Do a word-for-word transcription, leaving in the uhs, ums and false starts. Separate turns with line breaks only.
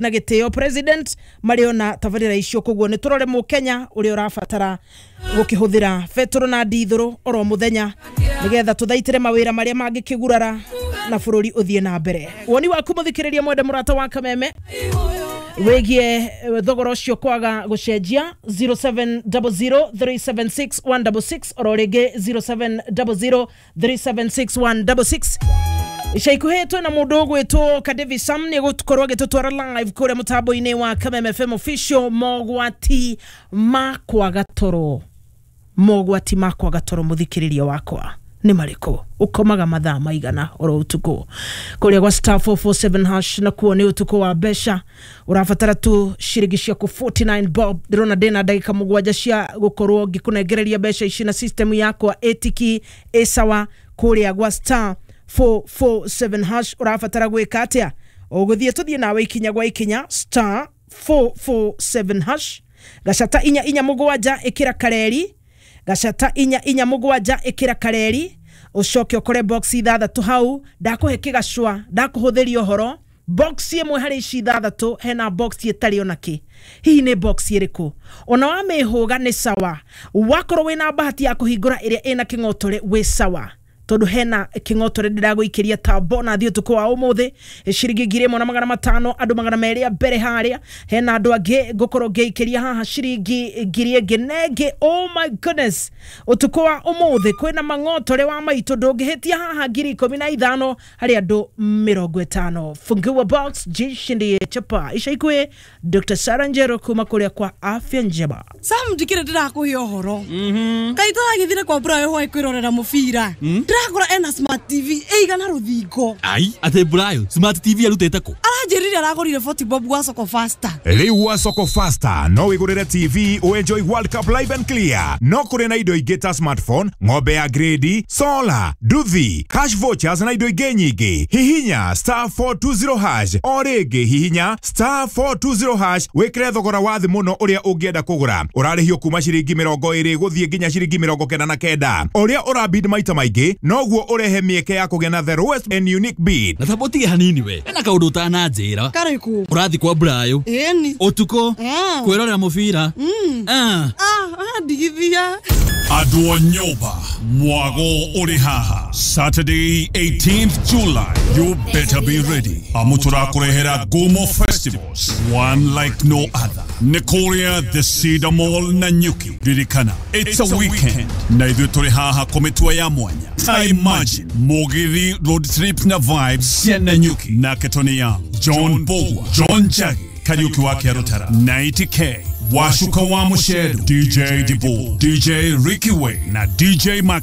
Na gĩtĩo president marĩ ona tabarĩra icio. Koguo nĩ tũrore mũkenya ũrĩa ũrabatara gũkĩhũthĩra betũrũ na ndithũrũ oro mũthenya, nĩgetha tũthaitĩre mawĩra marĩa mangĩkĩgurara na bũrũri ũthiĩ na mbere. Woni waku, mũthikĩrĩria mwende mũrata wa Kameme, wĩgie thogora ũcio kwaga gũcenjia, zero seven zero zero three seven six one six six, oro rĩngĩ zero seven zero zero three seven six one six six. Ica ikuhĩ twĩna mũndũ ũgwĩtwo Kadevi Sam, nĩ egũkorwo agĩtũtwara live kũrĩa mũtambo-inĩ wa Kameme F M official. Mogwati ma kwaga toro, mogwati ma kwaga toro, mũthikĩrĩria wakwa, nĩ marĩkũ? Ũkomaga mathaa maigana oro ũtukũ? Kũrĩa gwa star four four seven hash nakuo nĩ ũtukũ wa mbeca. Ũrabatara tu ciringi ciaku forty-nine bob. Ndĩrona ndĩna ndagĩka mũgwanja cia gũkorwo ngĩkũnengereria mbeca ici na system yakwa ĩtiki ĩsawa. Kũrĩa gwa star four four seven hash ũrabatara gwĩka atĩa? Ũgũthiĩ, tũthiĩ nawe ikinya gwa ikinya. Star four four seven hash, gacata inya inya mũgwanja ĩkĩra kareri, gacata inya inya mũgwanja ĩkĩra kareri, ũcoke ũkore box ithathatũ hau. Ndakũhe kĩgacwa, ndakũhũthĩria ũhoro. Box ĩmwe harĩ ici ithathatũ, hena box ĩtarĩ ona kĩ. Hihi nĩ box ĩrĩkũ? Ona wamĩhũga nĩ sawa. Wakorwo wĩna bahati ya kũhingũra ĩrĩa ĩna kĩng'otore, wĩ sawa, tondu hena kĩng'otore ndĩragũikĩria ta bonathi ũtukũ wa ũmũthĩ, ciringi ngiri ĩmwe na magana matano, andũ magana merĩ a mbere harĩa. Hena andũ angĩ ngũkorwo ngĩikĩria haha ciringi ngiri ĩngĩ na ĩngĩ. Oh my goodness, ũtukũ wa ũmũthĩ kwĩna mang'otore wa maitũ, ndũngĩhĩtia haha ngiri ikũmi na ithano harĩ andũ mĩrongo ĩtano. Fungua box, jishindie chapa. Ica ikuhĩ Doctor Sarah Njero kuma kũrĩa kwa Afya Njema.
Sam, ndikire ndirakuhe ũhoro. Kaĩ tũragĩthire kwa Brayo hwaĩ kwĩrorera mũbira, ndĩrakora ena smart T V ĩigana rũthingo.
Ai, atĩ Brayo smart T V arutĩte kũ?
Aranjĩrire aragũrire forty bob gwa Soko Fasta.
Rĩu gwa Soko Fasta no wĩgũrĩre T V, ũenjoy World Cup live and clear. No kũrĩ na indo ingĩ ta smartphone, ng'ombe ya grade, solar, nduthi, cash vouchers na indo ingĩ nyingĩ. Hihinya star four two zero hash, o rĩngĩ hihinya star four two zero hash, wĩkĩre thogora wa thĩ mũno ũrĩa ũngĩenda kũgũra. Ũrarĩhio kuma ciringi mĩrongo ĩrĩ gũthiĩ nginya ciringi mĩrongo kenda na kenda. Ũrĩa ũrabid maita maingĩ, noguo ũrehe mĩeke ya kũgĩa na the lowest and unique bid.
Na tamba ũtige hanini, we ena kaũndũ ũtananjĩra.
Karĩkũ?
Ũrathiĩ kwa Brayo
Ĩni.
Ũtukũ
Ah.
kwĩrorera mũbira? Ah.
Ah, ndigithia.
Andũ a nyũmba, mwago ũrĩ haha. Saturday eighteenth July, you better be ready, amu tũrakũrehera Gumo Festivals, one like no other, nĩ kũrĩa the Cedar Mall Nanyuki. Ririkana, it's a weekend, na ithuĩ tũrĩ haha kũmĩtua ya mwanya. Ta imagine mũgithi, road trip na vibes cia Nanyuki, nake Tony Young, John Bogwa, John Jagi, Kariuki wa Kĩarũtara, ninety K, Washuka wa Mushedu, D J Dibu, D J Ricky Way na D J Mac.